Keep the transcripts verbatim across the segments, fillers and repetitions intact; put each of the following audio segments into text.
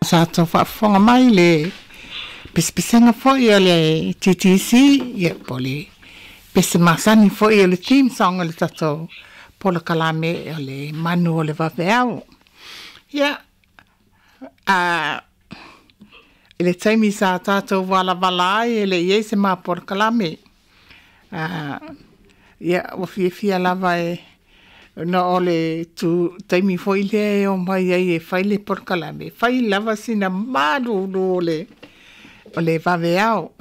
Sa tatou faafofoga mai i le pesepesega foi a le T T C, ia po o le pese masani foi o le theme song o le tatou polokalame o le Manu o le Vaveao. Ia, a i le taimi sa tatou valavala ai e le i ai se ma polokalame, a ia ua fiafia lava e ona o le tu taimi foi lea e omai ai e fai le polokalame, fai lava sina malulu o le o le vaveao.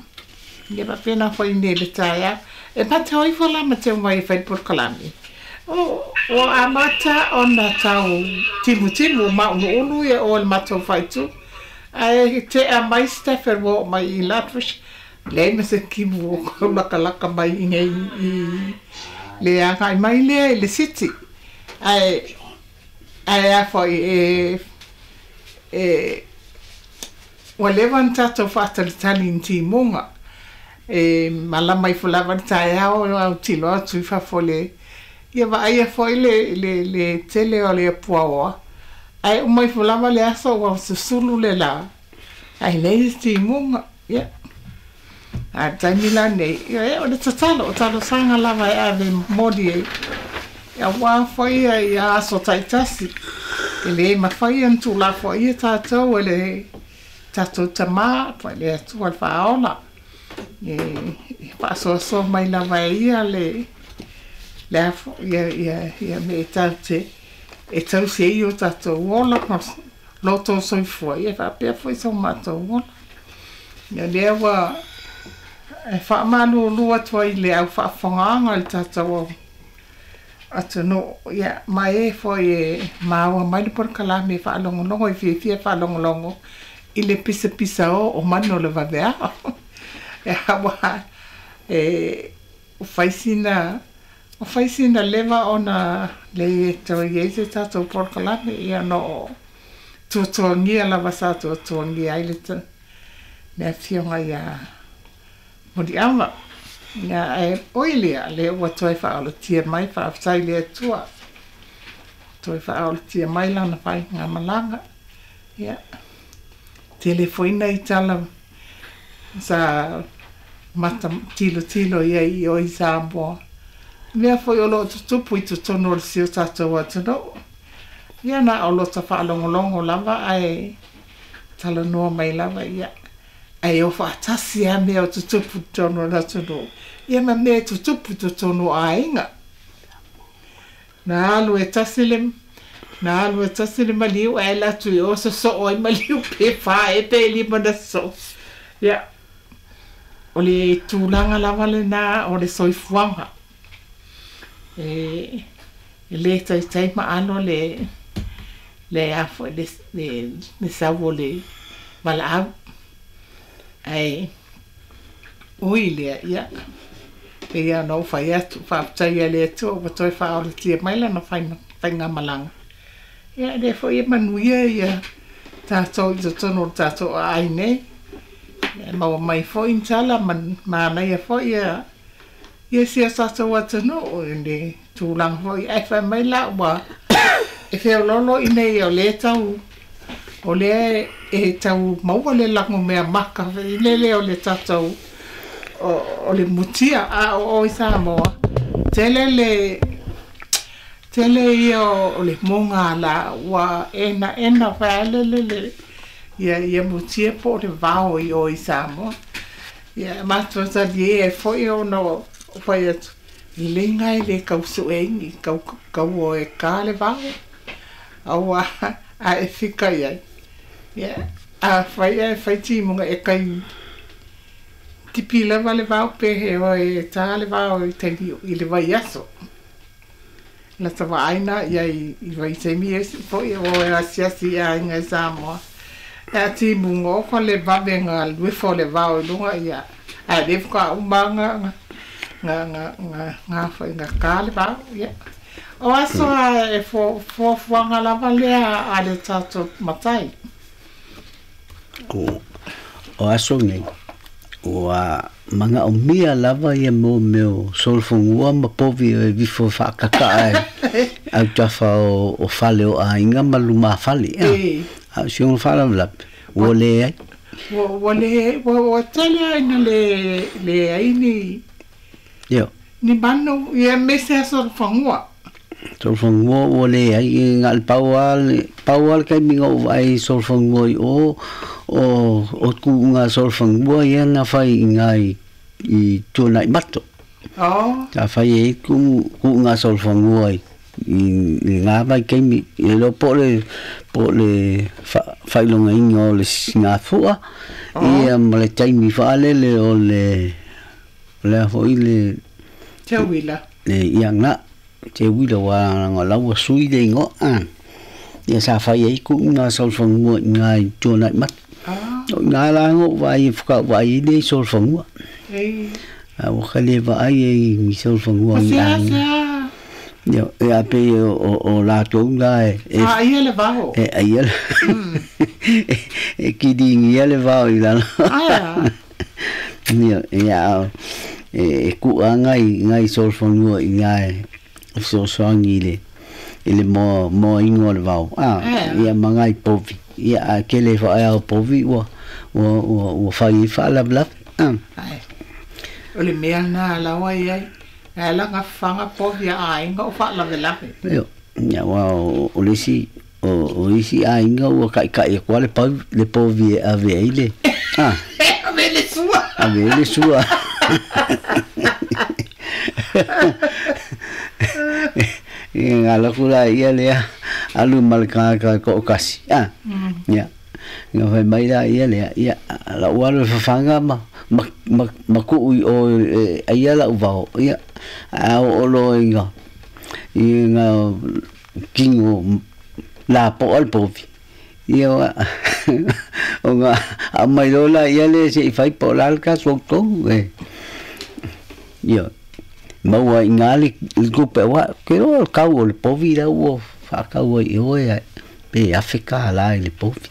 Ia faapena foi nei le taeao. E matau ifo la ma te omai e fai le polokalame. O ua amata ona tau timutimu mauluulu ia o le matou faaitu. Ae tea mai Stafford ua oo mai i Lethbridge, leai ma se kimu o kau lakalaka mai i nei i le agai mai lea i le city. Ae ae a foi e e ua leva ona tatou faatalitali i ni timuga. E malama ifo lava le taeao autilo atu i fafo le ia vaaia foi le le le tele o le puaoa. Ae uma ifo lava le aso ua susulu le la. Ae leai se timuga. Ia. A le taimi lenei, ia o le tatalo, o talosaga lava e ave momoli ai. Auā foi ia aso taitasi. E le mafai ona tulafoaia tatou e le tatou tamā po o le Atua le Faaola. E faasoasoa mai lava e ia le le afo ia ia ia me e tatou te e tausi ai o tatou ola ma loto soifua ia faapea foi so matou ola. Ia lea ua e faamalulu atu ai i le au faafofogaaga i le tatou atunuu, ia ma e foi e maua mai le polokalame e faalogologo e fiafia faalogologo i le pisapisa o o manu o le vaveao. E auā e fai sina fai sina leva ona leai e toe i ai se tatou polokalame ia ona o tuatuagia lava sa tuatuagia ai le le afioga ia Muliava. Ia ae oi lea, lea ua toe faaolatia mai, faafetai i le Atua. Toe faaolatia mai lana faigamalaga. Ia, tele foi nai tala sa mata tilotilo i ai i o i Samoa. Mea foi o lo o tutupu i totonu o le si o tatou atunuu. Ia na o lota faalogologo lava ae talanoa mai lava ia. Ae o faatasi lava mea o tutupu i totonu o le atunuu. Ia ma mea e tutupu i totonu o aiga. Na alu e tasi le na alu e tasi le maliu ae alu atu i o sosoo ai maliu pe fa ea pe lima na sosoo. Ia, o le tulaga lava lenā o le soifuaga. E e le taitai maalo le le a foi le le le sau o le valaau. Ae ui lea, ia pei lava ona ou fai atu, faafetai i le Atua ua toe faaolatia mai lana faigamalaga. Ia e lea foi e manuia ia tatou i totonu o le tatou aai nei. E maua mai foi ni tala ma manaia foi ia ia si o tatou atunuu i le tulaga foi ae fai mai la ua e feoloolo i nei o lea tau o lea e tau maua le lagomeamaka foi lele o le tatou o, o le mutia a o o i Samoa. Tele le tele ia o le mogala ua enaena faale le ia ia mutia po o le vao i o i Samoa. Ia matou talie ai foi ona o fai atu lelei e le kau sueini kau kau o e ka le vao. Auā a e fika i ai. Ia a fai e fai timuga e kai tipi lava le vao pe he oe e tā le vao i taimi i le vaiaso. Lata vaaina ia i i vaitaimi e foi o e asiasi i aiga i Samoa. E a timuga ofa le vave ga luefo le vao i luga ia ae le faatoa uma ga ga ga ga ga foi ga ka le vao ia. O aso a e fuafuaga lava lea a le tatou matai. O o aso nei ua magaomia lava ia mo mea o solofogia ma povi e vifo faakaka'a e autafa o, o fale o aiga ma lumafale. E A o si ona faalavelave Ua leai. Ua ua le ua ua tele ai na le leai ni Ioe. Ni manu ia aemaise aso o le fagua. Solofanua ua leai e na o le pau lava le pau lava le taimi na ou vaai i solofanua i o o o tuuga solofanua ia na fai i ina i i Tuanaimato. Oh. Sa fai ai tuuga solofanua i i lena vaitaimi e iloa po o le po o le faailogaina o le sigafua ia ma le taimi faalele o le o le a foi le Teuila. Le ia na teuila aua leaga o la ua sui le igoa a ia sa fai ai tuuga solofanua i ina i Tuanaimato. O i ina la na ou vaai faatoa ou vaai ai lea i solofanua. A ua ka le vaai ai i solofanua i aiga. Ia e a pei o o latou la e e aia le vao. E aia le e kiligia le vao i lalo. Aea. Ia ia e ku'a ngai ngai solofanua i ina e fesoasoani i le i le moa moaina o le vao a ia ma ngai povi ia ae tele faaea o povi ua ua ua ua fai ai faalavelave a. Ae o le mea lena laua e i ai. Ae ala gafaga povi a aiga o faalavelave. Ioe, ia aua o le isi o isi aiga ua taʻitaʻi atu lava le pau le povi e ave ai le a ave ai le sua. Ave ai le sua. Ia na alu atu laia lea alu ma le tagata e toatasi a ia na fai mai laia lea ia lau alu e fafaga ma ma ma ma tuu i o e aia lau vao ia ae oo loa ina ina tino lapoa le povi ia ona aumai loa laia lea se i fai po o le a le tatou tonu e ia maua ai i ina le tupe aua ou te iloa o le tau o le povi la ua faatau ai i o e pe afe tālā i le povi.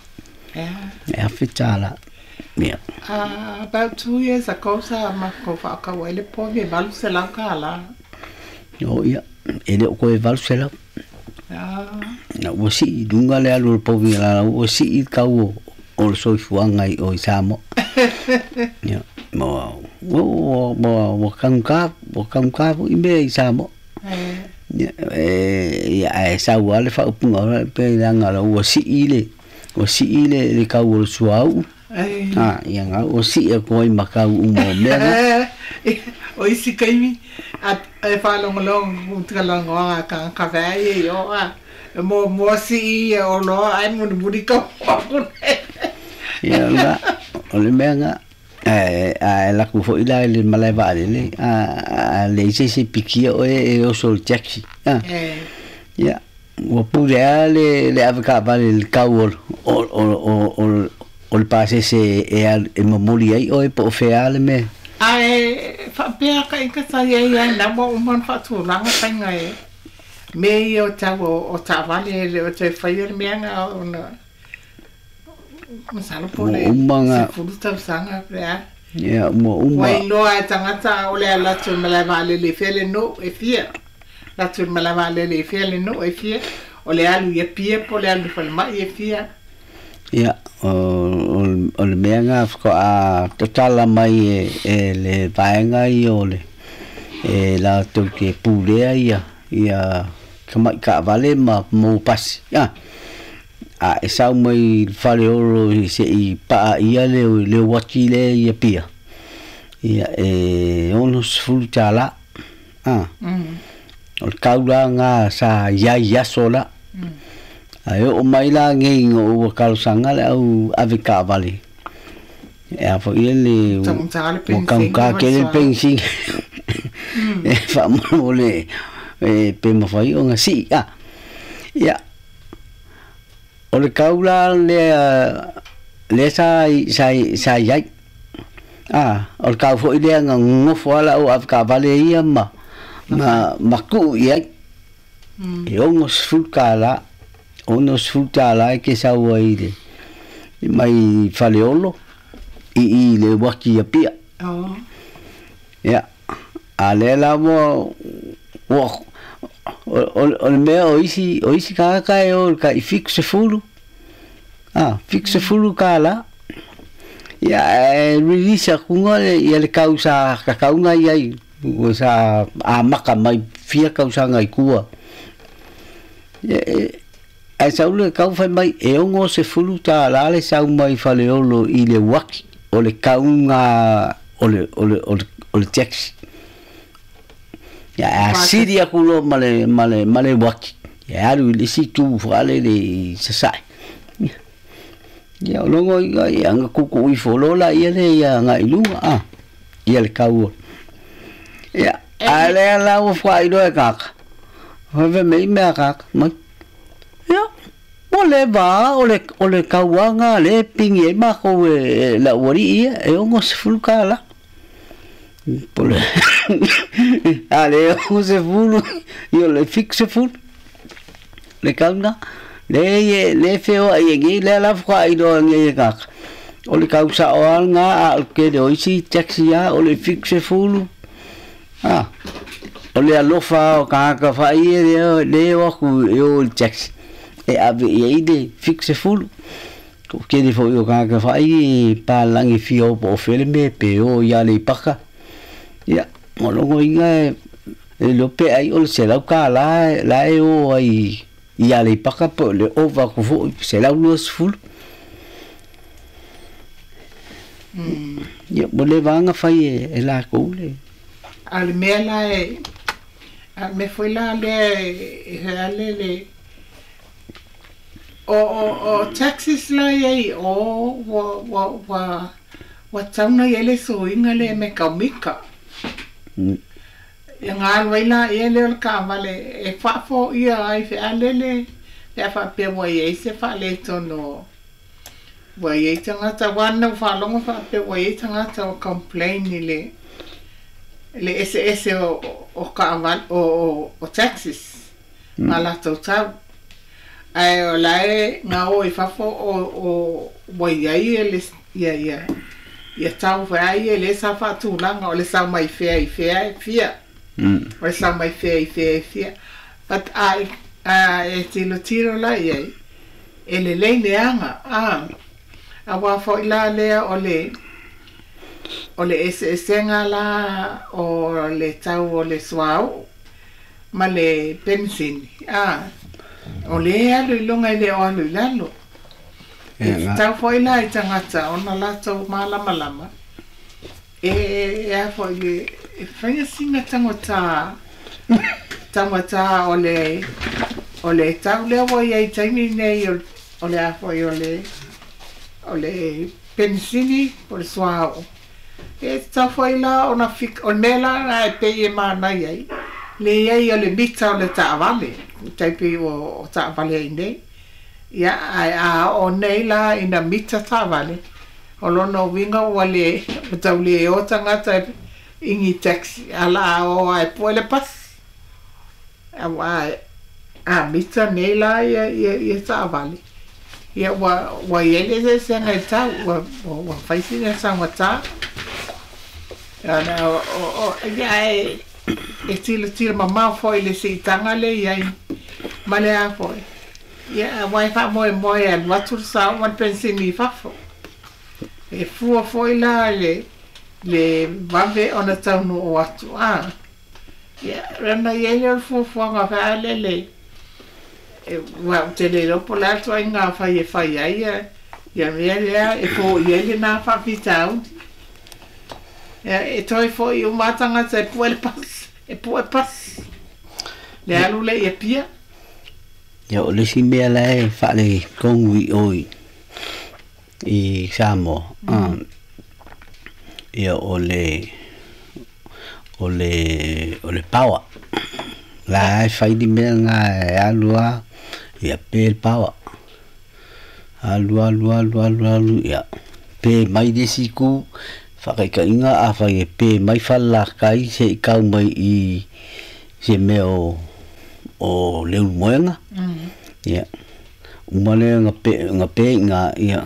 E afe tālā. Ia. Uh, about two years ago sa matou faatau ai le povi e valu selau tālā. O ia, e le o koe valu selau. Ah. Na ua sii i luga le alu o le povi la ua sii le tau o o le soifuaga i o i Samoa. Ia, ma ua ua ua taugata ua taugata foi mea i Samoa. Ia e ia ae sau lava le faaupuga o le pe leaga la ua sii le ua sii le le tau o le suauu. A ia na ua sii atu ai ma tau uma o mea na. O isi taimi e faalogologo talanoaga a tagata vaai e i o a e muamua sii ia oloa ae mulimuli tau atu nei. Ia la o le mea na ae ae alu atu foi la i le malae vaalele a a leai se isi e pikia oe e oso i le taxi a. Ia ua pule lava le le avetaavale i le tau o o o o o le pasese e alu e momoli ai oe po o fea le mea. Ae faapea ka ika sa i ai ai na ua uma ona faatulaga faiga e mea ia o tau o taavale e le o toe faia le mea na ona masalo po o le Ua uma na sefulu tausaga pe a. Ia ua uma. Ua iloa e tagata o le ala atu i le malae vaalele i fea le nuu e fia. Alu atu i le malae vaalele i fea le nuu e fia. O le alu i Apia po o le alu i falemai e fia. Ia o o le mea na faatoa tatala mai e e le vaega ia o le e latou te pulea ia ia tamai taavale ma mo pasi a a e sau mai i le Faleolo se i paaia le le uati lea i Apia ia e ono sefulu tālā a o le tau la lena sa i ai i aso la ae oo mai la nei ina ua talosaga le au avetaavale e a foi le Taugata le ua penisini taugata ma le tele le suauu. penisini e faamolemole e pe mafai ona sii a ia o le tau la lea lea sa sa sa i ai a o le tau foi lea na nonofo lava le au avetaavale ia ma ma ma tuu i ai e ono sefulu tālā ono sefulu tālā e te sau ai i le mai Faleolo i i le uati i Apia. Oh. Ia a lea la ua ua o o le mea o isi o isi tagata e o i le tai fitu sefulu Ah, fitu sefulu tālā. Ia e release akuga le ia le kau sa kakauga iai ua sa amaka mai fia kausaga i kua. Ia e ae sau le kau fai mai e ogo sefulu tālā le sau mai Faleolo i le uaki o le kauga o le o le o le o le taxi. Ia a sili aku loa ma le ma le ma le uaki ia alu i le isi itu faalele i Sasae. Ia o logo ia ia nga kuku ifo loa laia le ia agai i luga a ia le kau. Ia a lea la ua faailoa e kaka. Fai mai mea kaka mai. Ia ua leva o le o le kauaga le pigi ai makou e lau alii ia e ogo sefulu tālā. Po le a le ogo sefulu ia o le fitu sefulu le kauga. Le e le feoai e nei lea la faailoa nei e kaka. O le kau saoaga a o le tele o isi taxi a o le fitu sefulu. Ah, o le alofa o kāka whai e leo, leo aku e o le taxi. E ave i ai le fitu sefulu. Ko kere fo i o kāka whai e pālangi fia o po o fele me pe o i ale i paka. Ia, o longo inga e, e lope ai o le selau ka la, la e o ai i ale i paka po le ova ku fo selau lua sefulu. Mm. Ia, mo le vanga whai e, e la kou le. A le mea la e a le mea foi la lea e e ale le o o o taxis la iai o ua ua ua ua tauna i ai le suiga lea me kaumika. Mm. Ia galu ai laia lea o le taavale e faafoia ai fealele pe a faapea ua iai se faaletonu ua iai tagata uā na ua faalogo faapea ua iai tagata ua complain i le le eseese o o taavale o o o taxis ma latou tau ae o lae gaō i fafo o o ua iai e le ia ia ia tau feai e lē sa faatulaga o le sau mai fea i fea e fia Mm. o le sau mai fea i fea e fia but a a e tilotilo la iai e lelei le aga a auā foʻi la lea o le o le eseesega la o le tau o le suauu ma le penisini a o lē alu i luga i le o alu i lalo e Ia nga. tatau foʻi la i tagata ona latou malamalama e e a foʻi le e faia sina tagotā tagatā o le o le tau lea ua iai taimi nei o o le a foʻi o le o le penisini po le suauu e tatau foʻi la ona fik o le mea la na e pei e manaia ai le iai o le mita o le taavale tai pei o o taavale ai nei ia ae a oo nei la ina mita taavale o lona uiga ua le ua taulē o tagata i taxi ala a oo ae pue le pasi auā a mita nei la ia ia ia taavale ia ua ua iai le eseesega i tau ua ua fai sina tagatā ana o o ia ae e tilotilo mamao foʻi le siitaga le iai ma le a foʻi ia auā e faamoemoe e alu atu le sao ma le penisini i fafo e fua foʻi la le le vave ona taunuu atu a ia lana iai lea o le fuafuaga faalele e ua ou te le iloa po o le a le tuaiga fai e fai ai ia ia mea lea e foia ai lenā faafitauli ia e toe foʻi uma a tagata e pue le pasi e pue pasi le alu lea i Apia. Ia o le isi mea la e faaletonu i o i i Samoa. Mm. Ia o le o le o le power. La e fai ni mea ngā e alu a ia pe le power. Alu alu alu alu alu ia pe mai le isi itu faakaitaiga afai e pe mai falelakai seʻi kau mai i se mea o o le ulumoega. Mm. Ia uma lea ga pe ga pe iga ia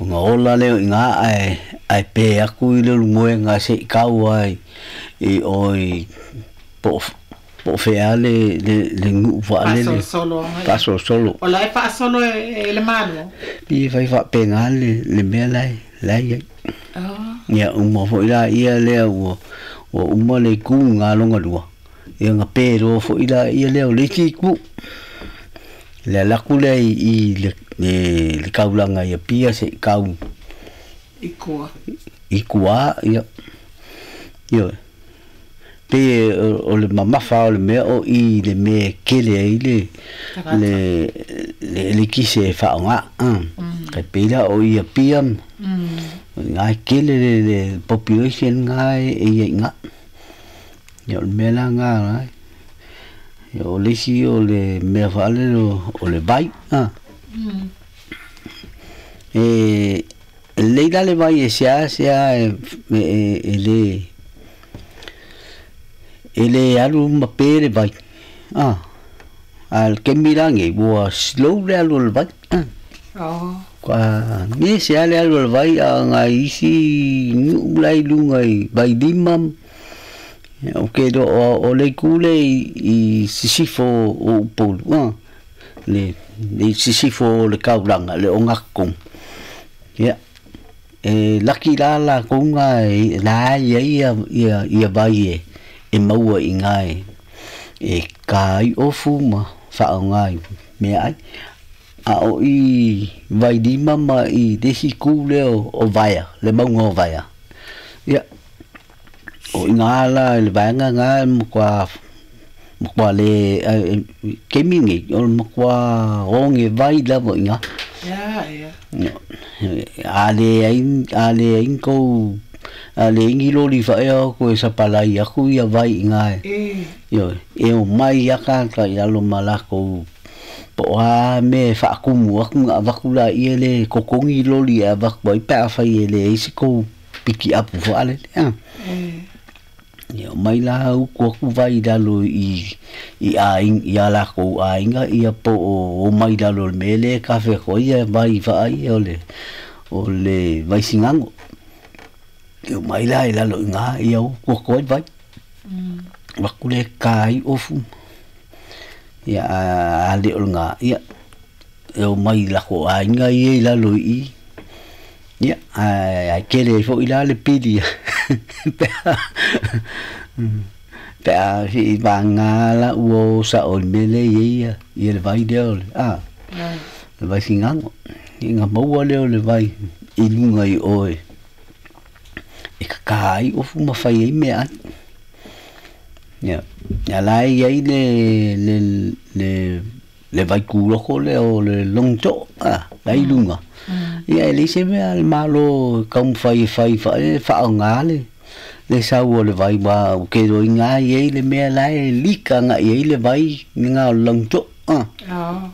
ona ola lea o iga ae ae pe aku i le ulumoega seʻi kau ai i o i po o Po fea le le le nuu faalele faasolosolo o la e faasolo e le Malo pi fai faapega le le mea lae lae iai. Ia uma foʻi laia lea ua ua uma le itu galoga lua ia gapē loa foʻi laia lea o le isi itu le alaku lea i le le kaulaga ia pia seʻi kau i kua i kuā ia ioe pe o le mamafa o le mea o i le mea kele ai le le le le kise faaaogā kai pei la o ia pia ga kele le le population ga e ia iga ia o le mea la ga ia o le isi o le mea faalele o le vai a e lelei la le vai e seā seā e e le e lē alu ma pē le vai a a le kemi lagei ua slow le alu o le vai oh kua ge sea le alu o le vai a agai isi nuʻu lai luga i vailima o ke o le itu le i sisifo o Upolu a le le sisifo o le kaulaga le ogakonu ia e laki la lakou ga e la ia ia ia vai e e maua i gae e ka ai ofu ma faaogā i meaai a o i vailima ma i le isi ku lea o Vaea le mauga o Vaea ia o iga la i le vaega ga makuā makuā lē kemi nei o le makuā oge vai lava iga ia ia a lē ai a lē ai kou a le ingi loli faʻea o koe sapalai aku ia vai iga e ioe e o mai ia kāka i lalo ma lakou po o a me faakumu aku ga avaku laia le kokogi loli e avaku ai pe afai e leai se kou piki apu faalele a e ia o mai la uku aku vai lalo i i aiga ia lakou aiga ia po o mai lalo le mea lea e kafe ko ia vai vaaia o le o le vaisigago e o mai la i lalo iga ia uku aku ai vai vaku le ka ai ofu ia a le o le ia e o mai lako aiga ia i lalo i ia a kele foʻi la le pili pe pe a fi vanga la ua sa o le mele ia ia le vai lea o le a le vai sigago ia maua lea o le vai i luga i oe e kakā ai ofu ma fai ai meaai ia ia la e iai le le le le vai kuloko lea o le logitoʻo a la i luga ia e leai se mea le Malo taumafai e fai faae faaogā le le sau o le vai ua ke loiga iai le mea la e lika agaʻi ai le vai ga o le logitoʻo a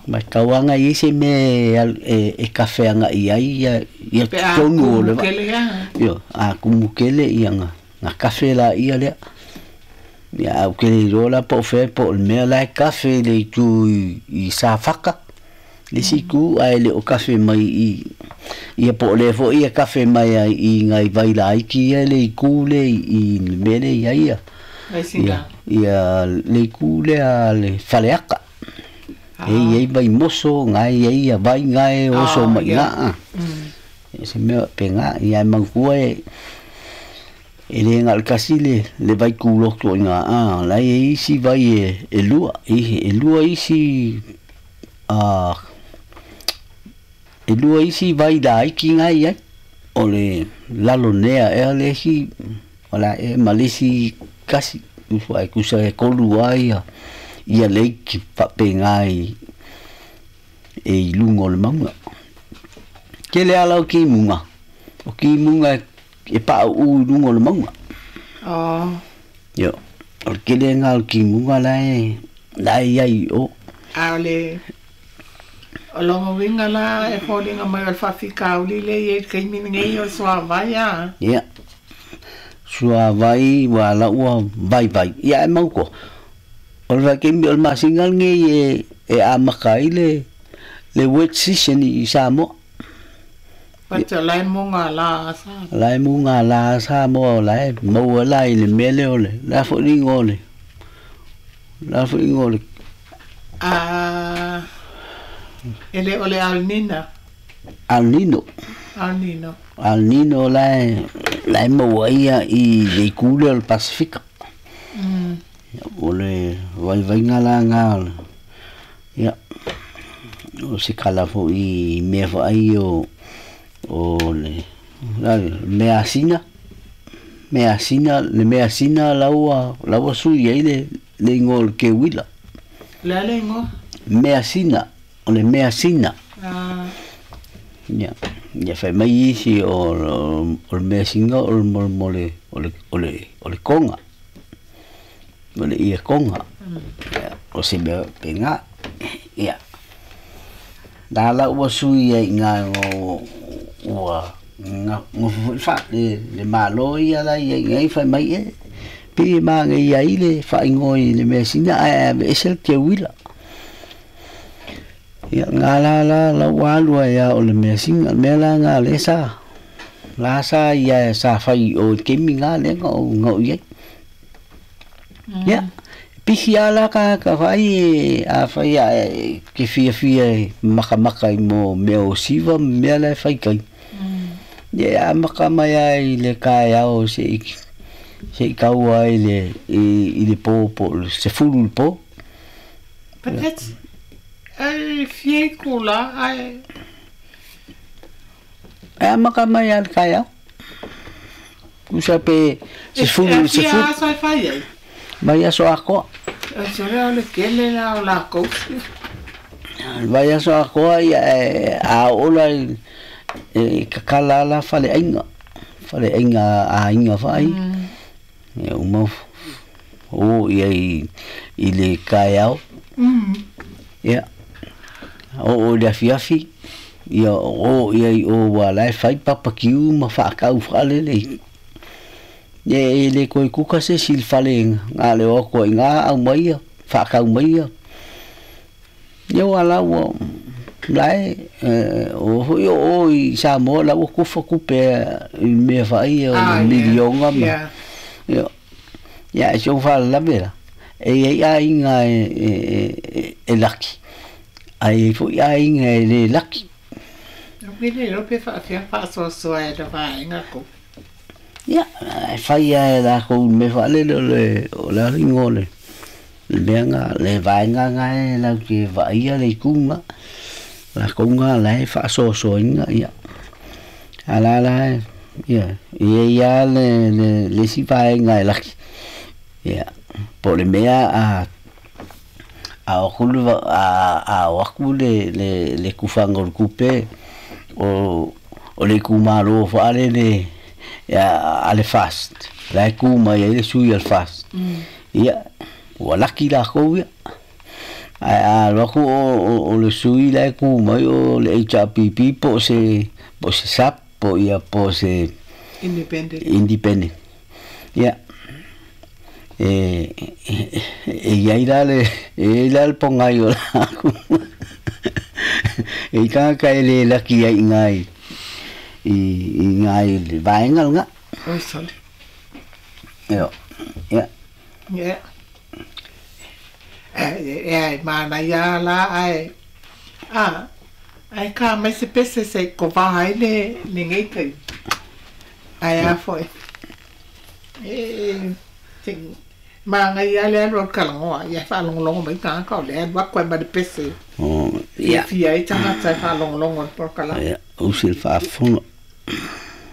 ma tauaga iai se mea e e kafe agaʻi ai ia ia pe a tonu o le kumu vai kele ia io a kumu kele ia ga ga kafe laia lea ia au ke le iloa la po o fea po o le mea la e kafe le itu i, i Safaka le isi itu ae le o kafe mai i ia po o le foʻi ia kafe mai ai i gai vai laiti ia le itu le i le mea le ia ia vai ia singa ia le itu lea le Faleaka e iai vai moso gae iai ia vai gae oso ah mai ia ga se mea pega ia e manatua e e lē ga o le kasi le le vai kuloto i gā a la e isi vai e e lua i e lua isi a e lua isi vai laiti gai ai o le lalonea ea le isi o la e ma le isi kasi usu ai kusa e kolu ai ia ia leiki faapega i e i luga o le mauga kele ala o kimuga o kimuga e paʻaʻū i luga o le mauga oh io o le kele ga o le kimuga la e la e iai o a o le o loga uiga la e foliga mai o le faafikauli le ia i le taimi lenei o le suāvai a ia suavai ua la ua vaivai ia e mau koa o le vaikaimi o le masina lenei e e amaka ai le le wet season i Samoa pate o lae moga lā sa la e muga la Samoa o la e maua la i le mea lea o le la foʻiliga o le La foi ingoa le Ah, e le o le Alnina. Alnino. Alnino. Alnino la la e maua ia i le itu lea o le Pasifika. Mm. O le vaivaiga laga ia o se kala foʻi mea faai o o le la measina measina le measina laua laua sui ai le le igoa o le keuila. Le a le igoa? Measina o le measina. Ah. Ia ia fai mai isi o o le measina o le mo le o le o le o le konga o le ia konga ia o se mea pega ia la la ua sui ai iga o ua gofo foʻi fa le le malo ia la ia igai fai mai e pei e magaia ai le faaigoa i le measina ae aveese le keuila ia ga la la la ua alu ai a o le measina le mea la ga lea sa la sa ia sa fai o i le taimi ga lea na ou na ou iai ia pisi a la ka ka fai a fai a ke fiafia e makamaka i mo mea o siva ma mea la e fai kai ia amaka mai ai le kaeao seʻi seʻi taua ai le i le po po o le sefulu i le po. But that's ai fia i kula ai e amaka mai a le kaeao tusa pe sefulu e fia sefulu aso e fai ai mai aso akoa o se o le kele la o la kou. Vai aso akoa ia e a ola i e kakala la faleaiga faleaiga aiga faai ia uma o ia i i le kaeao Mm. ia oo i le afiafi ia o ia i o ua la e fai papakiu ma faakau faalele ia e le koe kuka se isi i le fale ga le o atu ai iga aumai ia faakau mai ia ia ua la ua la e o foi o o i Samoa la ua kufa kupe i mea faia o Ah, le yeah. milionga ma Yeah. ia ia e si ou faalavelave la e iai aiga e e e e laki ae iai foʻi aiga e lē laki. O pele lo pe whaafia whaasoasoa e le vaenga ko. Ia e fai a e lakou i le mea faalele o le o le aliga o le le mea ga le vaega ga e latou te vaaia le ituga lakou ga la e faasoasoaina ia a la la ia e iai a le le le isi vaega e laki ia po o le mea a a o aku le a a o aku le le le kufaga o le tupe o o le itumalo faalele ia a le fast la e ku mai ai le sui a le fast ia ua laki lakou ia ae a alu atu o o le sui la e ku mai o le H R P P po o se po o se S A P po ia po o se Independent. Independent ia e e iai la le e iai la le pogai o lakou e i tagata e lē laki ai iga i i iga i le vaega lega. Oi sole. Io ia. Yeah. E e ai mana ia la ai. Ah, ai ka mai se pese se ko vaha ai le le ngei kai. Ai a foi. E ting ma ngai ia le alu o le kalagoa ia e faalogologo mai tagata o le alu aku ai ma le pese O ia fiafia ai tagata e faalogologo i le polokalame. Ia usi le faafofoga.